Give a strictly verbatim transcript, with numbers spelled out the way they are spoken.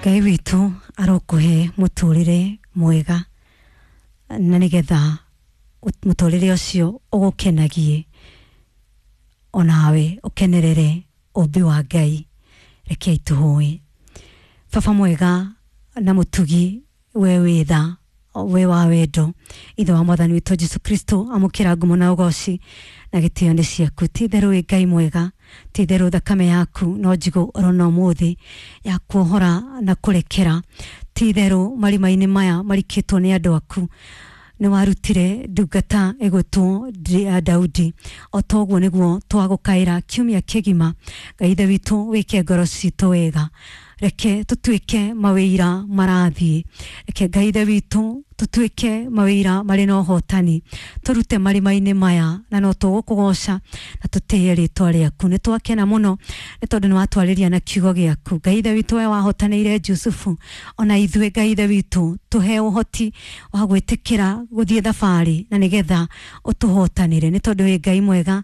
Ngai witũ arokũhe mũtũrĩre mwega na nĩgetha mũtũrĩre ũcio ũgũkenagie onawe ũkenerere ũmbi wa Ngai. Rekei tũhoe. Baba mwega na mũtugi, we wĩ tha, we wa wendo, ithe wa mwathani witũ Jesu Kristo, amũkĩra ngumo na ũgoci na gĩtĩo nĩ ciaku. Ti itherũ wĩ Ngai mwega, ti itherũ thakame yaku no njigũ orona ũmũthĩ ya kuohora na kũrekera. Ti itherũ marima-inĩ maya marikĩtwo nĩ andũ aku nĩ warutire ndungata ĩgwĩtwo Daudi. O toguo nĩguo twagũkaĩra kiumia kĩgima. Ngai ithe witũ, wĩke ngoro citũ wega, reke tũtuĩke mawĩira marathiĩ, reke Ngai ithe witũ tũtuĩke mawĩira marĩ na ũhotani, tũrute marima-inĩ maya, na no tũgũkũgoca na tũtĩye rĩtwa rĩaku. Nĩ twakena mũno nĩ tondũ nĩ watwarĩria na kiugo gĩaku. Ngai ithe witũ, we wahotanĩire Jusufu, ona ithuĩ Ngai ithe witũ tũhe ũhoti wa gwĩtĩkĩra gũthiĩ thabarĩ na nĩgetha ũtũhotanĩre, nĩ tondũ wĩ Ngai mwega.